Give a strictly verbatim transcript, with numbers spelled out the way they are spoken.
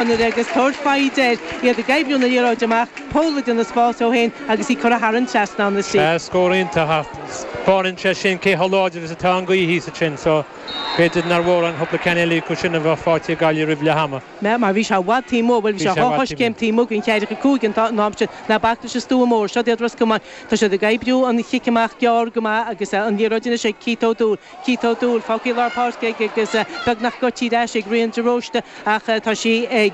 Agus tabhairt foighid air, iad ag oibriú na liathróide amach, Pól ag déanamh spás dó féin agus í curtha thar an trasnán istigh. Sea, scór iontach ach taispeánann sé sin cé chomh láidir is atá an ghaoth thíos ansin so b'fhéidir nár mhór an cúpla ceann eile acu sin a bheith faighte ag Gaillimh roimh leath ama. Mar bhí sé i bhfad taobh amuigh, bhuel bhí sé dhá choiscéim taobh amuigh den cheathracha cúig an t-am sin. Ná bac leis an stua mór. Seo iad Ros Comáin. Tá siad ag oibriú an chic amach gearr go maith agus an liathróid anois ag Keith O'Doul. Keith O'Doul fágtha i lár páirce aige agus beagnach goití ar ais ag Rian de Róiste ach tá sí ag.